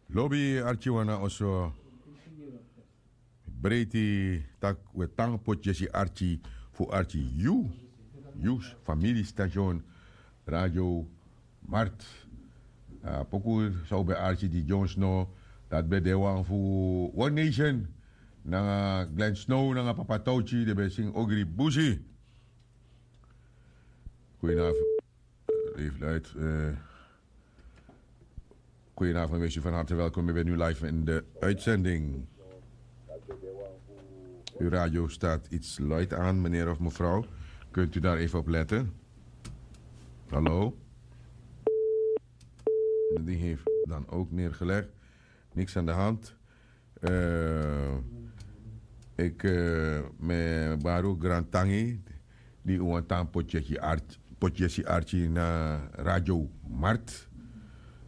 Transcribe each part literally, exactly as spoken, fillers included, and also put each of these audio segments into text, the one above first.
Lobi arki wan na oso. Breiti tak' wi e tan poti yesi arki fu arki yu, yu famili station Radio Mart. A poku san un ben arki gi John Snow, dati ben de wan fu One Nation nanga Glenn Snow nanga Papa Touchy, den ben singi Ogri Busi. Goedenavond. Leef luid. Goedenavond, wees u van harte welkom. U bent nu live in de uitzending. Uw radio staat iets luid aan, meneer of mevrouw. Kunt u daar even op letten? Hallo? Die heeft dan ook neergelegd. Niks aan de hand. Eh, ik eh, me baru grantangi di un wan tan poti yesi arki na Radio Mart.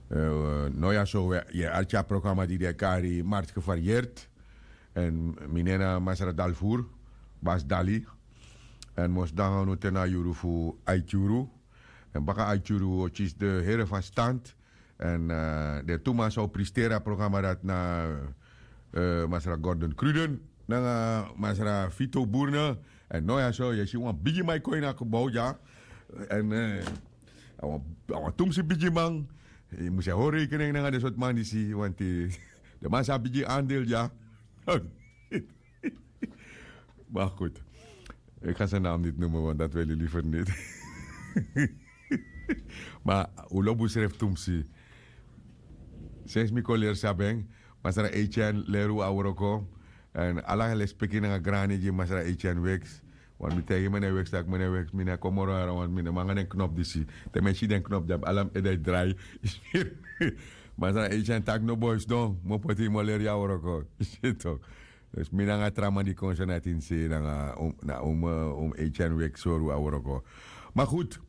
Eh, no ya so we ye arki a programa di de kari Mart Gevarieerd. En mi nen na Masra Dalvoer, Bas Dali. En mos dan no tena yuru fu Aikyuru. En baka Aikyuru o kisi de here van stand. En eh, den tu man san o pristeri a programa dati na eh, Masra Gordon Cruden nanga Masra Vito Burne. En no ya so ye si wan bigi man e kon ini a gebouw dya. En eh, a wan, a wan tumsi bigi man. Yu mus e hori rekening nanga den sortu man disi, want eh, den man sa bigi andel dya. Maar goed, ik ga zijn naam niet noemen, want dat wil je liever niet. Maar un lobi unsrefi tumsi. Sensi mi kon leri sabi en, Masra Etienne leri un a wroko. En ala lespeki nanga grani gi Masra Etienne Weeks. Want mi taigi meneer Weeks tak' meneer Weeks, mi no e kon moro hara, want mi no man nanga den knop disi. Te mi e si den knop dya, ala mi ede e drai. Masra Etienne taki: "No boi, sidon, mi o poti yu, mi o leri yu a wroko." Yu si tok. Dus mi nanga tra man di kon so na tin se nanga um, na um, eh, um Etienne Weeks sori un a wroko. Maar goed,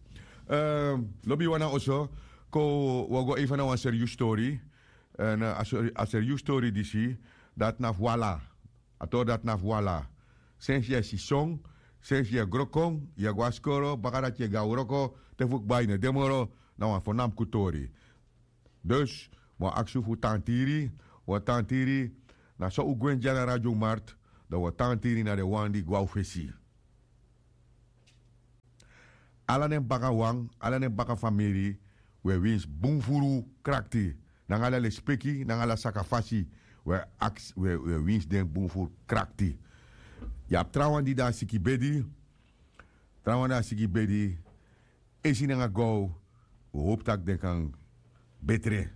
eh, lobi wan na oso, kon wi o go even na wan serius tori. En eh, a seri-, a serius tori disi, dati na fu ala. A tori dati na fu ala. Sensi yu e sison, sensi yu e gro kon, yu e go na skoro, baka dati yu e go na wroko, te fu kba yu no de moro, na wan fo namku tori. Dus, mi o aksi un fu tan tiri, wi o tan tiri, na so un gwenti dya na Radio Mart, dan wi o tan tiri na den wan di gwe na un fesi. Ala den baka wan, ala den baka famiri, wi e winsi bun furu krakti. Nanga ala lespeki, nanga ala sakafasi, wi e aksi, wi e, wi e winsi den bun furu krakti. Yu abi trawan di de na siki bedi, trawan de na siki bedi, esi nanga gow, wi howpu tak' den kan betre.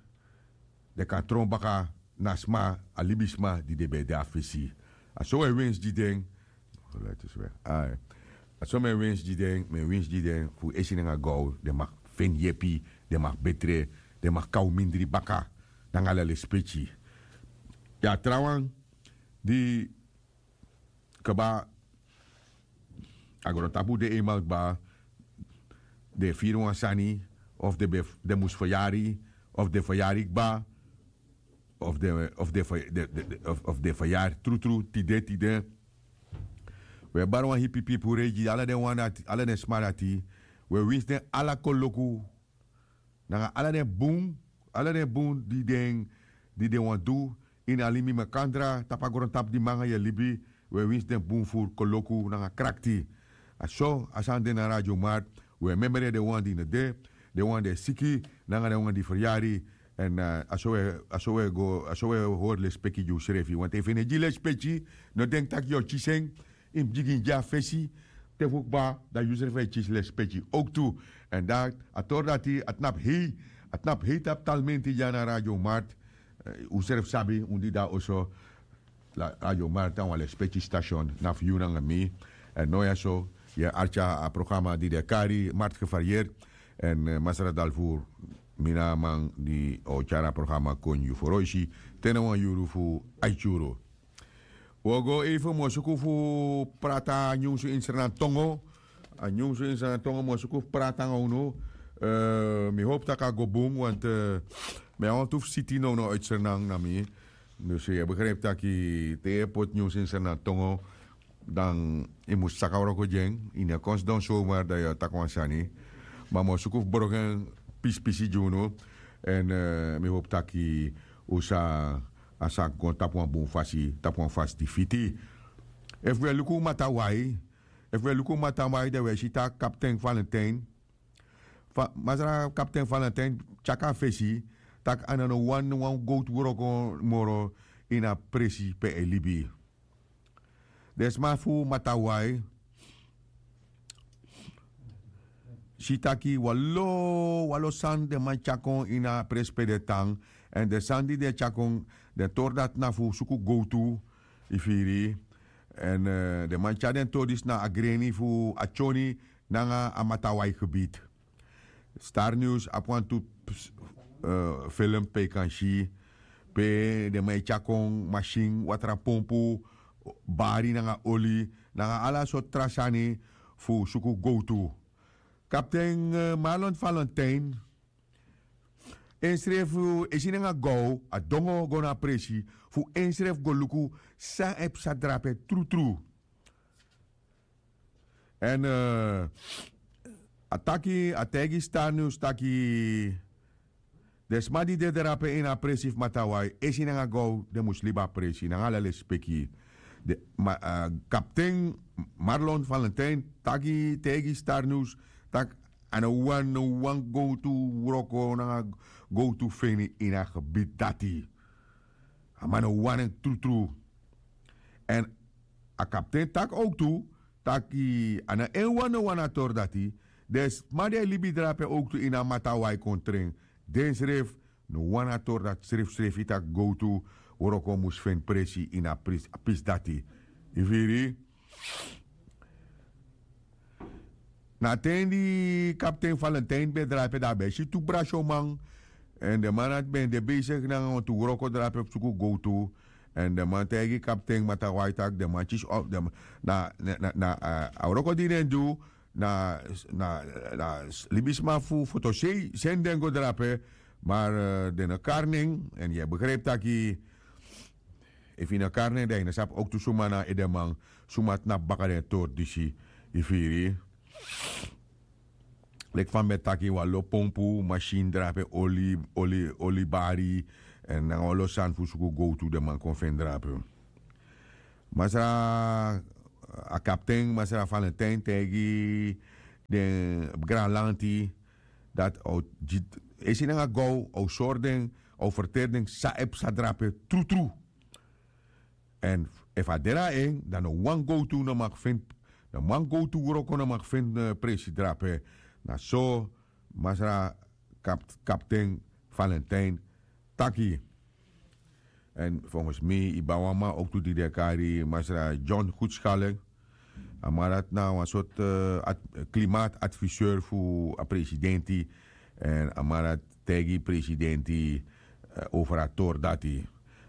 Den kan tron baka na sma, a libisma di den ben de na fesi. A so wi e winsi gi den. Ai. A so mi e winsi gi den, mi e winsi gi den, fu esi nanga gow, den mag feni yepi, den mag betre, den mag kon na un mindri baka, nanga ala lespeki. Yu abi trawan di kba, a grontapu de eenmaal kba, den e firi wan sani, of den ben, den mus feryari, of den feryari kba, of den, of den fe-, den, den, den, of, of den feryari trutru, tide, tide. Wi e bari wan hipi pipurei gi ala den wan dati, ala den sma dati. Wi e winsi den ala koloku, nanga ala den bun, ala den bun di den, di den wani du ini a libi makandra, tapu a grontapu di mi nanga yu e libi, wi e winsi den bun furu koloku nanga krakti. A so a sani de na Radio Mart, wi e memre den wan di no de, den wan di e siki, nanga den wan di feryari, en eh, a so wi e, a so wi e go, a so wi e hori lespeki gi unsrefi. Want efu yu no gi lespeki, no denki tak' yu o kisi en, yu mus bigin gi a fesi, te fu kba, dan yusrefi e kisi lespeki ook tu. En dan, a tori dati, a tnapu hei, a tnapu hei tapu talmenti dya na Radio Mart, eh, unsrefi sabi, un di de na oso, la, Radio Mart na wan lespeki station, na fu yu nanga mi. En now ya so, yu e arki a programa di den e kari, Mart Gevarieerd, en eh, Masra Dalvoer, mi na a man di o tyari a programa kon gi yu froisi, te na wan yuru fu aiti yuru. Wi o go even, mi o suku fu prati a nyunsu ini Sranan tongo. A nyunsu ini Sranan tongo, mi o suku fu prati nanga unu. Eh, mi howpu tak' a go bun, want eh, mi abi wantu fu siti nownow uit Sranan na mi. Dus yu e begrijp tak' te yu e poti nyunsu ini Sranan tongo, dan yu mus saka wroko gi en, yu no e kon sidon zomaar dan yu o taki wan sani. Ma mi o suku fu broko en pisi pisi gi unu. En eh, mi howpu tak' Un sa a saki kon tapu wan bun fasi, tapu wan fasi di fiti. Efu wi e luku matawai, efu wi e luku matawai dan wi e si taki kapten valentine, masra kapten valentine, tyaki a fesi, taki a no no wani wan gowtu wroko moro ini a presi pe a e libi. Den sma fu matawai si taki wan lo wan lo sani den man tyari kon ini a presi pe den tan. Èn den sani di den e tyari kon, den tori dati na fu suku gowtu, yu firi. Èn den man tyari den tori disi na a greni fu a tyoni nanga a matawai gebiti. Star news abi wantu film pe yu kan si pe den man e tyari kon masin, watra pompu, bari nanga oli, nanga ala sortu tra sani fu suku gowtu. Kapten marlon valentine ensrefi, e si nanga gow a dongo go na a presi fu ensrefi go luku san e psa drape trutru. Èn a taki a taigi star news taki den sma di de drape ini a presi fu matawai esi nanga gow den mus libi a presi nanga ala lespeki. Kapten marlon valentine taki taigi star news tak' a no wani no wan gowtu wroko nanga gowtu feni ini a gebiti dati. A man no wani en trutru. Èn a kapten taki owktu taki a no en wan no wani a tori dati. Den sma di e libi drape owktu ini a matawai kon tren, densrefi no wani a tori dati srefsrefi tak' gowtu wroko mus feni presi ini a pisi dati. Yu firi? Na a ten di kapten valentine ben drape dan a ben e si tu brasyoman. Èn den man dati ben de beisiki nanga wantu wroko drape fu suku gowtu. Èn den man taigi kapten matawai tak' den man kisi na a wroko di den du na libisma fu fotosei seni den go drape. Mar den no kari nen èn yu e begripi taki efu yu no kari nen dan yu no sabi owktu suma na edeman suma tnapu baka den tori disi. Yu firi? Leki fa mi ben taki wan lo pompu masin drape oli oli oli bari èn nanga wan lo sani fu suku gowtu den man kon feni drape. Masra a kapten masra valentine taigi den granlanti dati a o gi esi nanga gow a o sori den a o ferteri den san e psa drape trutru. Èn efu a de na en dan no wan gowtu no maki feni no wan gowtu wroko no maki feni presi drape. Na so masra kapten valentine taki. Èn fongens mi yu ban wan man owktu di den e kari masra john gudskalek. A man dati na wan sortu klimaat adviseur fu a presidenti. Èn a man dati taigi presidenti over a tori dati.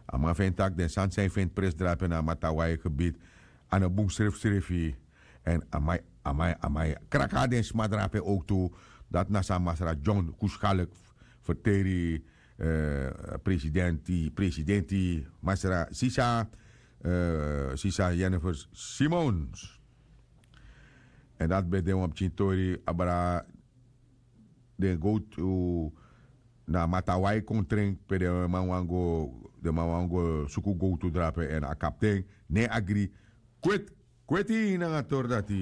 A man feni tak' den sani san yu feni presi drape na a matawai gebit a no bun srefsrefi. Èn a man e a man e a man e kraka den sma drape owktu. Dati na san masra john kuskalik ferteri presidenti presidenti masra sisa sisa jennifer simons. Èn dati ben de wan pikin tori abra den gowtu na matawai kon tren pe den man wani go den man wani go suku gowtu drape èn a kapten no e agri. Kweti kweti nanga tori dati.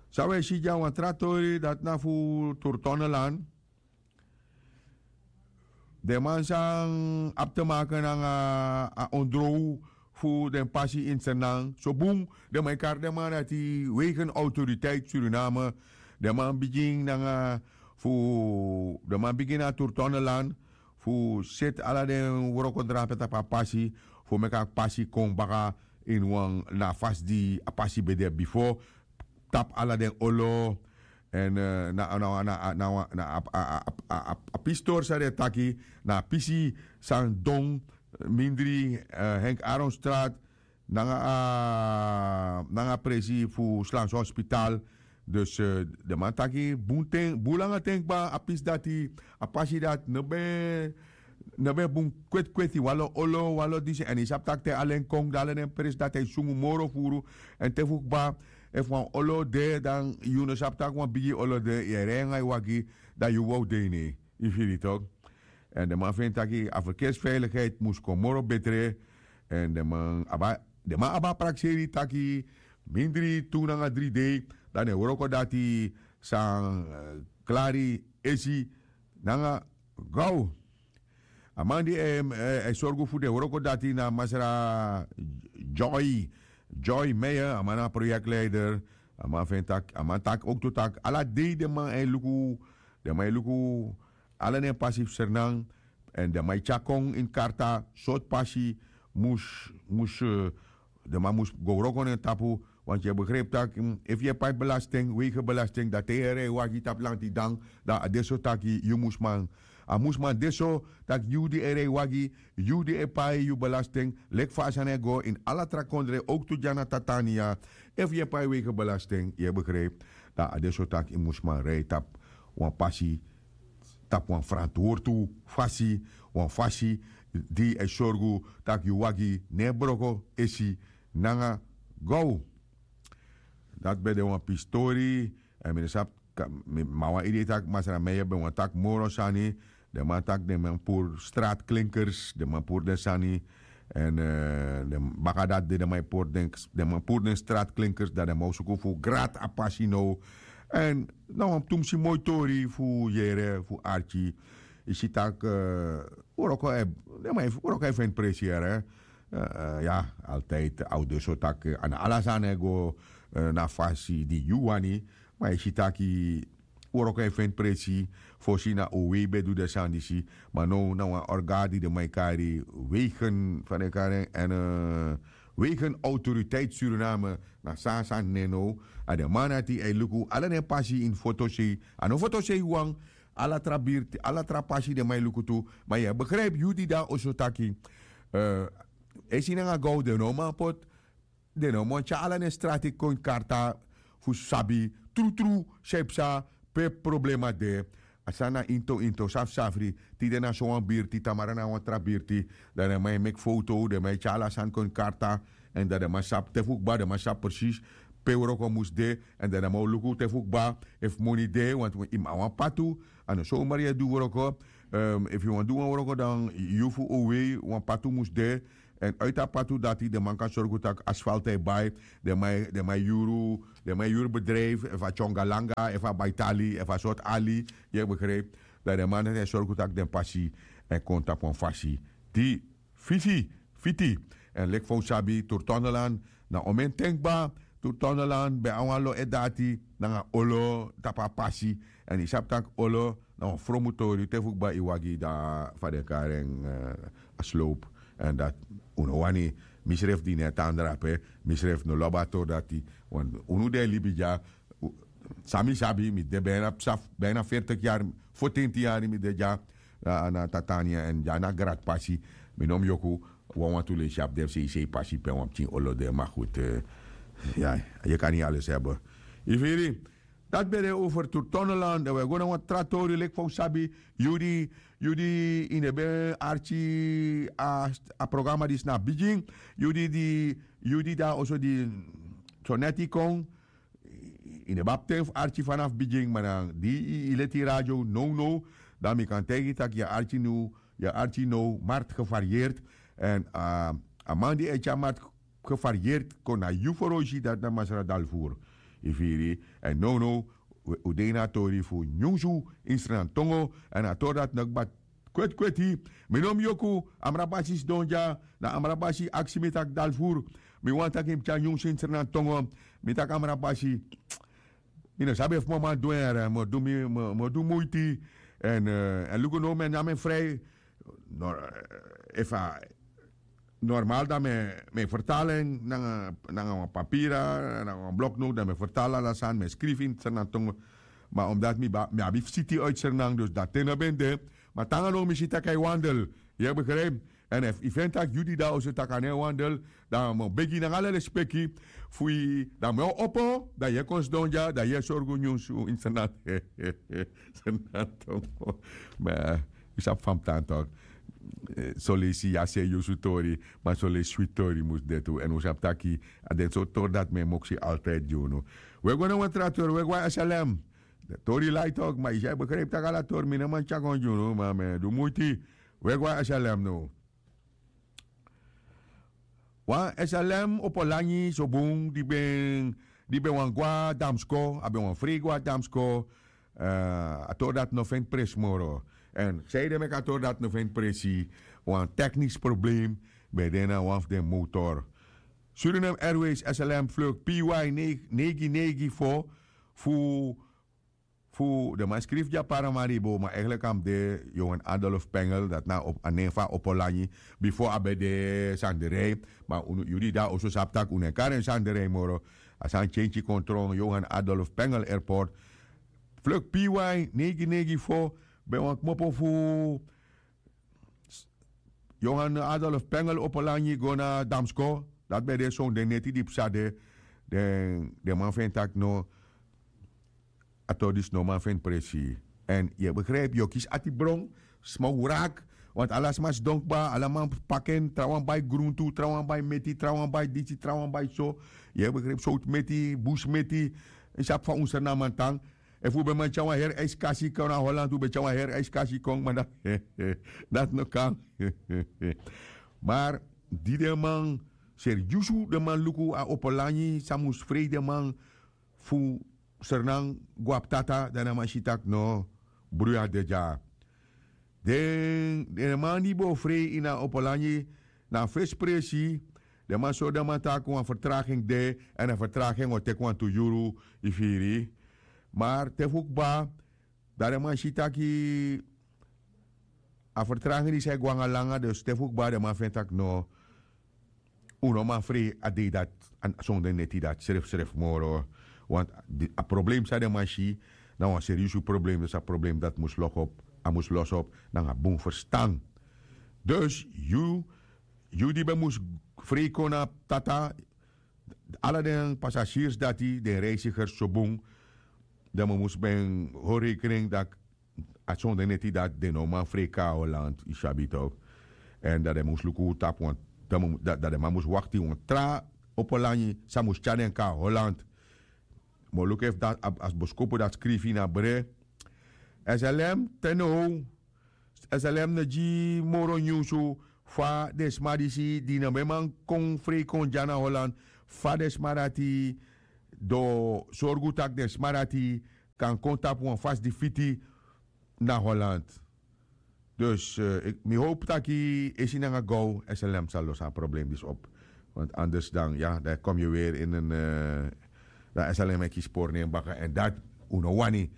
San wi e si dya wan tra tori dati na fu turtonelan. Den man san abi te make nanga a ondrow fu den pasi ini sernan so bun. Den man e kari den man dati wegen autoriteit suriname. Den man bigin nanga fu den man bigin na turtonelan fu seti ala den wrokodrape tapu a pasi fu meki a pasi kon baka ini wan na a fasi di a pasi ben de bifo. Tapu ala den olo èn na na na na a pistori san den e taki na a pisi san don mindri henk aronstraat nanga a nanga a presi fu slanse hospital. Dus den man taki bun ten bun langa ten kba a pisi dati a pasi dati no ben no ben bun kweti kweti wan lo olo wan lo disi èn yu sabi tak' te alen kon dan alen den presi dati a e sungu moro furu. Èn te fu kba efu wan olo de dan yu no sabi tak' wan bigi olo de yu e rei nanga yu wagi dan yu wow de ini en yu firi tok'. Èn den man feni taki a ferkersveiligheid mus kon moro betre. Èn den man abi a prakseri taki mindri tu nanga dri dei, dan den wroko dati san klari esi nanga gaw. A man di e sorgu fu den wroko dati na masra joy joy meier, a man na proyekleider. A man feni taki a man taki owktu taki ala dei den man e luku den man e luku ala den pasi fu sernan. Èn den man e tyari kon ini karta sortu pasi mus mus den man mus go wroko na en tapu. Want yu e begripi tak' efu yu e pai belasting weigebelasting dan te yu e rei wagi tapu lanti dan dan a de so taki yu mus man a mus man de so tak' yu di e rei wagi yu di e pai yu belasting leki fa a sani e go ini ala tra kondre owktu dya na tatania. Efu yu e pai weigebelasting yu e begripi dan a de so tak' yu mus man rei tapu wan pasi tapu wan frantwortu fasi wan fasi di e sorgu tak' yu wagi no e broko esi nanga gow. Dati ben de wan pistori èn mi no sabi ma wan idei tak' masra meier ben wani taki moro sani. Den man taki den man puru stratklinkers den man puru den sani èn den baka dati de den man e puru den den man puru den stratklinkers dan den man o suku fu grati a pasi now. Èn na wan tumsi moi tori fu yere fu arki yu si tak' wroko e feni presi yere. Ya altidi a o de so tak' a na ala sani e go na fasi di yu wani. Ma yu si tak' wroko e feni presi fosi na un wei ben du den sani disi. Ma now na wan orga di den man e kari wegen fa den e kari en èn wegen autoriteit suriname na san a sani nen now. A den man dati e luku ala den pasi ini fotosei a no fotosei wawan. Ala tra birti ala tra pasi den man e luku tu. Ma yu e begripi yu di de na oso taki esi nanga gow den no man poti den no man tyari ala den strati kon ini karta fu sabi trutru san yu psa pe problema de. A sani na inton inton safsafri tide na sowan birti tamara na wan tra birti. Dan den man e meki foto den man e tyari ala sani kon ini karta èn dan den man sabi te fu kba den man sabi presis pe wroko mus de. Èn dan den man o luku te fu kba efu moni de want yu man wan patu a no somar yu e du wroko. Efu yu wani du wan wroko dan yu fu owei wan patu mus de. Èn uiti a patu dati den man kan sorgu tak' asfalt e bai den man e yuru den man e yuru bedrijfu efu a tyonga langa efu a baitali efu a sortu ali. Yu e begripi dan den man dati e sorgu tak' den pasi e kon tapu wan fasi di fisi fiti. Èn leki fa un sabi turtondelan na omen ten kba. Turtondelan ben abi wan lo e dati nanga olo tapu a pasi. Èn yu sabi tak' olo na wan fromu tori te fu kba yu wagi dan fa den kari en a slowpu. Èn dati un no wani. Mi srefi di no e tan drape mi srefi no lobi a tori dati. Unu di e libi dya san mi sabi mi de bina psa bina fertik yari fotenti yari mi de dya. Na tatania èn dya na gratpasi. Mi no mus yoku wanwantu leisi abi den fu seisei pasi pe wan pikin olo de ma gudu. Ya yu kan ni ales hebe. Yu firi dati ben de over turtondelan dan wi e go na wan tra tori leki fa un sabi yu di yu di yu no ben arki a programa disi na bigin. Yu di di yu di de na oso di so neti kon yu no ben abi ten fu arki fanafu bigin ma na di yu leti yu radio nownow dan mi kan taigi yu tak' yu e arki now yu e arki now marti gevarieerd. Èn a man di e tyari marti gevarieerd kon na yu foroisi dati na masra dalfuru. Yu firi èn nownow un de ini a tori fu nyunsu ini sranantongo. Èn a tori dati no kba kweti kweti. Mi no mus yoku amra basi sidon dya na amra basi aksi mi taki dalfuru. Mi wani taki mi tyari nyunsu ini sranantongo. Mi taki amra basi mi no sabi efu mi o man du en yere mi o du muiti. Èn luku now mi e nyan mi en frei. Efu a normal dan mi e fertali en nanga wan papira nanga wan bloknowtu dan mi e fertali ala sani mi e skrifi ini sernantongo. Ma omdati mi abi fu siti uiti sernan dus dati te no ben de. Ma te nanga now mi si tak' a e wandel. Yu e begripi? Èn efu yu feni tak' yu di de na oso tak' a no e wandel, dan mi o begi nanga ala lespeki fu yu dan mi o opo dan yu e kon sidon dya dan yu e sorgu nyunsu ini sernantongo. Ma yu sabi fa mi tan tok. Soleisi yu a seriyusu tori ma soleisi switi tori mus de tu èn un sabi taki a den sortu tori dati mi e moksi altidi gi unu. Un e go na wan tra tori un e go na slm. Tori lai tok ma yu si a yu begripi tak' ala tori mi no man tyari kon gi unu ma mi e du muiti. We go na slm now. Wan slm opo langi so bun di ben di ben wani go na damsko a ben wani frei go na damsko. A tori dati no feni presi moro. Èn sanede meki a tori dati no feni presi? Wan teknisi problem ben de na wan fu den motor. Suriname airways slm fluk py neigi neigi fo fu fu den man skrifi gi a paramaribo ma eigenlik a mus de johan adolf pengel dati na a nen fu a opo langi. Bifo a ben de sanderei ma unu yu di de na oso sabi tak' unu e kari en sanderei moro. A sani tyentyi kon tron johan adolf pengel airport. Fluk py neigi neigi fo ben wani kmopo fu johan adolf pengel opo langi go na damsko. Dati ben de sonde neti di psa de den man feni tak' no. A tori disi no man feni presi. Èn yu e begripi yu o kisi ati bron sma wraki. Want ala sma sidon kba ala man paki en trawan bai gruntu trawan bai meti trawan bai disi trawan bai so. Yu e begripi sowtu meti busi meti. Yu sabi fa un srnaman tan. Efu un ben man tyari wan heri eiskasi kon na holand un ben tyari wan heri eiskasi kon ma dati no kan. Mar di den man seriusu den man luku a opo langi san mus frei den man fu sernan go abi tata dan den man si tak' no. Bruya de dya den man di ben o frei ini a opo langi na a fesi presi. Den man sori den man tak' wan fertraging de èn a fertraging o teki wantu yuru. Yu firi? Mar te fu kba dan den man si taki a fertraging disi e go nanga langa dus te fu kba den man feni tak' no. Un no man frei a dei dati sonder neti dati srefsrefi moro. Want a problem san den man si na wan seriusu problem dus a problem dati mus lokopu a mus losopu nanga bun ferstan. Dus yu yu di ben mus frei kon na tata ala den pasasirs dati den reisigers so bun. Den man mus ben hori rekening dati a sonder neti dati den no man frei kon na holand yu sabi tok'. Èn dati den mus luku tapu wan dati den man mus wakti wan tra opo langi san mus tyari den kon na holand. Mi o luku efu dati a boskopu dati skrifi ini a bre. Slm te now slm no gi moro nyunsu fa den sma disi di no ben man kon frei kon dya na holand fa den sma dati do sorgu tak' den sma dati kan kon tapu wan fasi di fiti na holand. Dus mi howpu taki esi nanga gow slm sa losi a problem disi op. Want anders dan ya dan e komi yu weri ini en dan slm e kisi pori na en baka èn dati un no wani.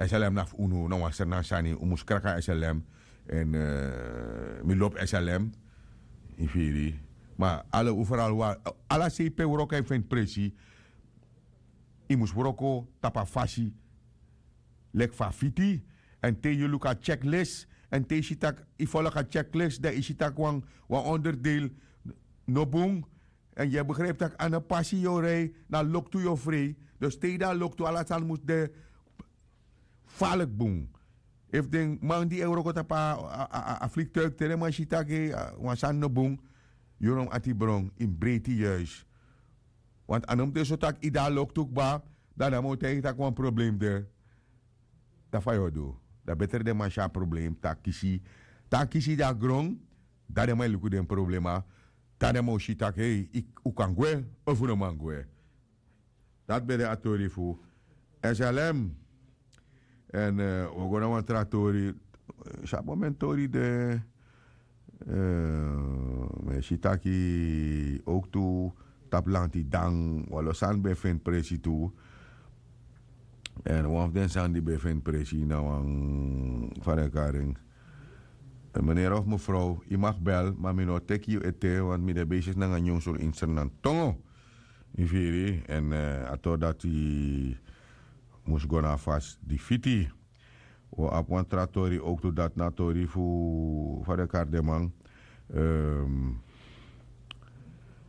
Slm na fu unu na wan srnan sani un mus kraka slm. Èn mi lobi slm. Yu firi? Ma ala un feral wari ala sei pe wroko e feni presi. Yu mus wroko tapu a fasi leki fa a fiti. Èn te yu luku a tyekles èn te yu si tak' yu folok a tyekles dan yu si tak' wan onderdeel no bun. Èn yu e begripi tak' a no pasi yu o rei na loktu yu o frei. Dus te yu de na loktu ala sani mus de falik bun. Efu den man di e wroko tapu a fliktuik te den man si tak' wan sani no bun. Yu no mus ati bron yu mus breiti yuis. Want a no mus de so tak' yu de na loktu kba dan den man o taigi tak' wan problem de. Dan fa yu o du? Dan betre den man si a problem te a kisi te a kisi de na gron. Dan den man e luku den problema. Dan den man o si tak' un kan gwe ofu no man gwe. Dati ben de a tori fu slm. Èn un o go na wan tra tori. Sabi momen tori de. Mi e si taki owktu tapu lanti dan wan lo sani ben e feni presi tu. Èn wan fu den sani di ben e feni presi na wan fa den e kari en. Menere of mefrow yu maki bel ma mi no o teki yu ete want mi de besisi nanga nyunsu ini srnantongo. Yu firi? Èn a tori dati mus go na a fasi di fiti. Un o abi wan tra tori owktu dati na a tori fu fa den e kari den man.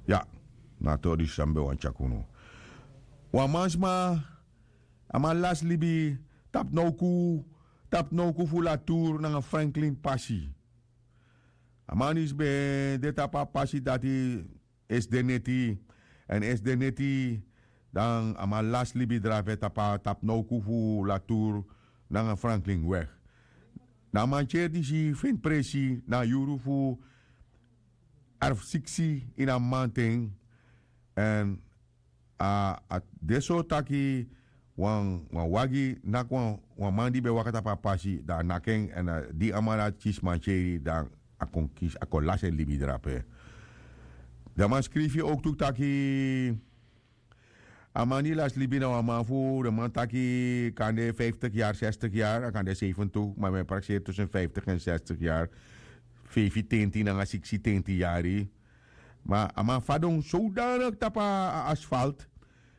Ya, na a tori disi san mi ben wani tyari unu. Wan mansma a man lasi libi tapu nowku tapu nowku fu latour nanga franklin pasi. A man disi ben de tapu a pasi dati esi de neti. Èn esi de neti Dan a man lasi libi drape tapu a tapu nowku fu latour nanga franklin weg. Dan a mantyeri disi feni presi na a yuru fu arfu siksi ini a mamanten. Èn a de so taki wan wagi naki wan man di ben waka tapu a pasi dan a naki en èn di a man dati kisi mantyeri dan a kon kisi a kon lasi en libi drape. Den man skrifi owktu taki a man di lasi libi na wan man fu den man taki kande fiftik yari sestik yari a kande sefentik ma mi e prakseri tusun fiftik èn sestik yari. Feifi tenti nanga siksi tenti yari. Ma a man fadon sodanik tapu a asfalt.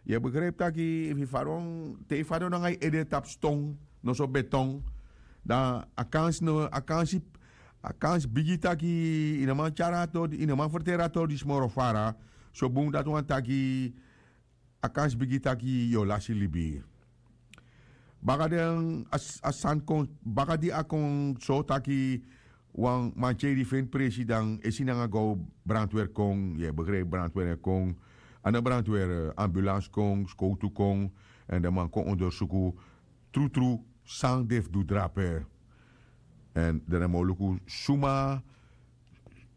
Yu e begripi taki efu yu fadon te yu fadon nanga yu ede tapu ston noso beton, dan a kansi no a kansi a kansi bigi taki yu no man tyari a tori yu no man ferteri a tori disi moro fara. So bun dati wani taki a kansi bigi taki yu o lasi libi. Baka den a sani kon baka di a kon so taki wan mantyeri feni presi dan esi nanga go brantwer kon yu e begripi brantwer e kon. Anda brantwer ambulans kon skowtu kon èn den man kon ondersuku trutru san den fu du drape. Èn den no man o luku suma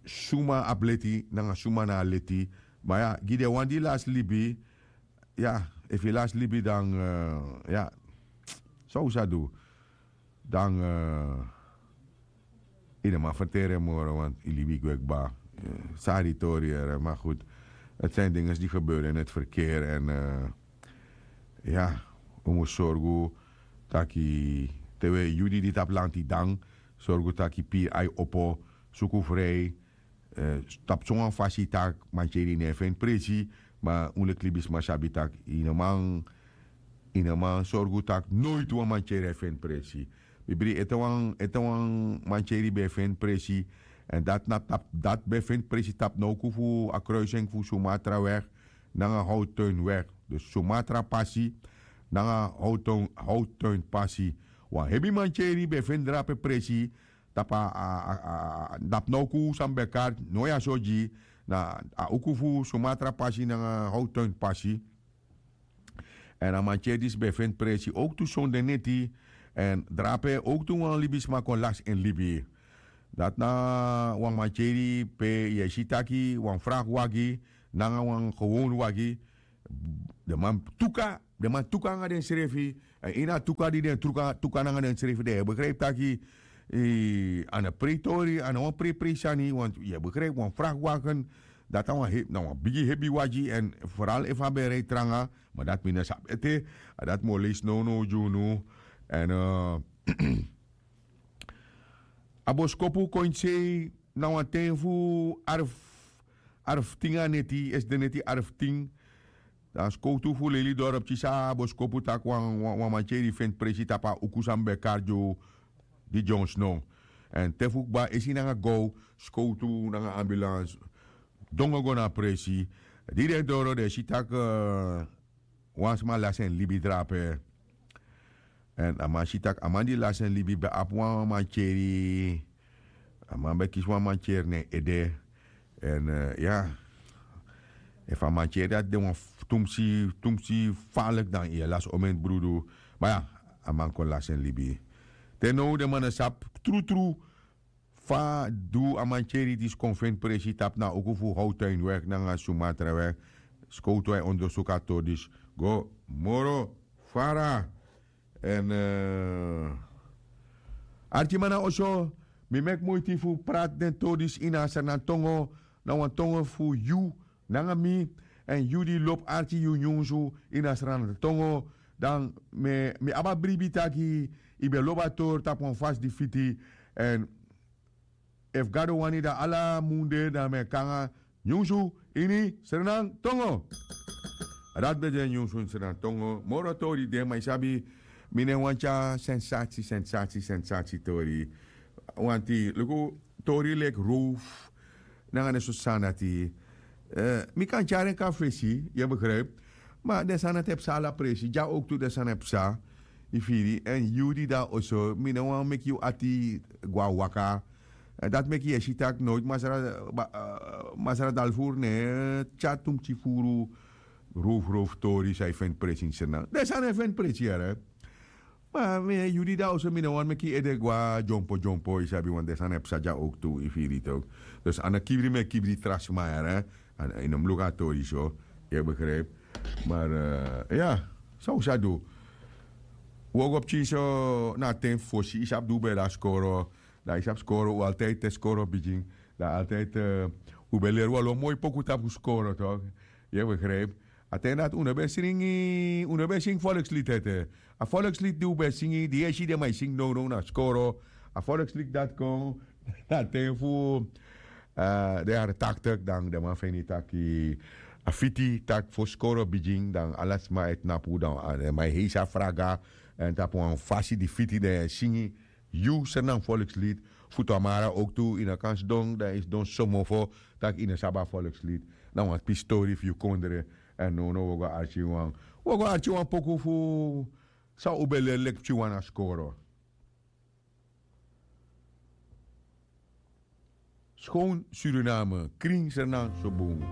suma abi leti nanga suma na a leti. Ma ya gi den wan di lasi libi. Ya efu yu lasi libi dan ya san un sa du dan yu no man ferteri en moro want yu libi gwe kba. Sari tori yere ma goed. Het zijn dingen die gebeuren in het verkeer en ya un mus sorgu taki te we yu di di tapu lanti dan sorgu taki piri ai opo suku frei. Tapu sowan fasi tak' mantyeri no e feni presi. Ma un leki libisma sabi tak' yu no man yu no man sorgu tak' noiti wan mantyeri e feni presi. Bibri ete wan ete wan mantyeri ben e feni presi. Èn dati na tapu dati ben e feni presi tapu na uku fu a kruising fu sumatra weg nanga howtuin weg. Dus sumatra pasi nanga howtuin pasi. Wan hebi mantyeri ben e feni drape presi tapu a a a a dapu na uku san mi ben kari no ya so gi na a uku fu sumatra pasi nanga howtuin pasi. Èn a mantyeri disi ben e feni presi owktu sonde neti èn drape owktu wan libisma kon lasi en libi. Dati na wan mantyeri pe yu e si taki wan fraki wagi nanga wan gewon wagi. Den man tuka den man tuka nanga densrefi. Èn ini a tuka di den tuka nanga densrefi dan yu e begripi taki a na prei tori a na wan prei prei sani want yu e begripi wan fraki wagen. Dati na wan bigi hebi wagi èn foral efu a ben e rei tranga. Ma dati mi no sabi ete a dati mi o leisi nownow gi unu. Èn a boskopu kon ini sei na wan ten fu arf arftin a neti esi den neti arftin. Dan skowtu fu leli dorop kisi a boskopu tak' wan mantyeri feni presi tapu a uku san mi ben kari gi unu. Di dyonsno èn te fu kba esi nanga gow skowtu nanga ambulans dongo go na a presi. Di den doro den e si tak' wan sma lasi en libi drape. Èn a man si tak' a man di lasi en libi ben abi wan mantyeri. A man ben kisi wan mantyeri na en ede. Èn ya efu a mantyeri dati de wan tumsi tumsi faliki dan yu e lasi omeni brudu. Ma ya a man kon lasi en libi. Te now den man no sabi trutru fa du a mantyeri disi kon feni presi tapu na a uku fu howtuin weg nanga sumatra weg. Skowtu a e ondersuku a tori disi go moro fara. Èn arkiman na oso mi meki muiti fu prati den tori disi ini a sranantongo na wan tongo fu yu nanga mi. Èn yu di lobi arki yu nyunsu ini a sranantongo dan mi abi a bribi taki yu ben lobi a tori tapu wan fasi di fiti. Èn efu gado wani dan ala mun de dan mi e kon nanga nyunsu ini sranantongo. A dati ben de nyunsu ini sranantongo moro tori de ma yu sabi mi no e wani tyari sensasi sensasi sensasi tori. Wanti luku tori leki rowfu nanga den soso sani dati. Mi kan tyari en kon na fesi yu e begripi. Ma den sani dati e psa ala presi dya owktu den sani e psa. Yu firi èn yu di de na oso mi no wani meki yu ati go na waka. Dati meki yu e si tak' nowiti masra dalfuru no e tyari tumsi furu. Rowfu rowfu tori san yu feni presi ini srnan den sani e feni presi yere. Ma mi e yu di de a oso mi no wani meki yu ede go na dyompo dyompo yu sabi wan den sani e psa dya owktu yu firi yu toki. Dus a no kibri mi e kibri tra sma yere. Yu no mus luku a tori so. Yu e begripi? Mari ya, san un sa du? Un o go pikin so na a ten fu fosi yu sabi di un ben de na skoro. Dan yu sabi skoro un altiydi te skoro bigin dan altiydi un ben leri wan lo moi poku tapu skoro tok. Yu e begripi? A ten dati un no ben singi un no ben singi folkslit ete. A folkslit di un ben singi di yu e si den man e singi nownow na skoro. A folkslit dati kon na ten fu den yari taktik dan den man feni taki a fiti taki fosi skoro bigin dan ala sma e tnapu dan den man e heisi a fraga. Èn tapu wan fasi di fiti den e singi yu srnan folkslit. Fu tamara owktu yu no kan sidon dan yu sidon somofo tak' yu no sabi a folkslit. Na wan pisi tori fu yu kondre. Èn nownow wi o go arki wan wi o go arki wan poku fu san un ben leri leki pikin wan na skoro. Skon suriname krin srnan so bun.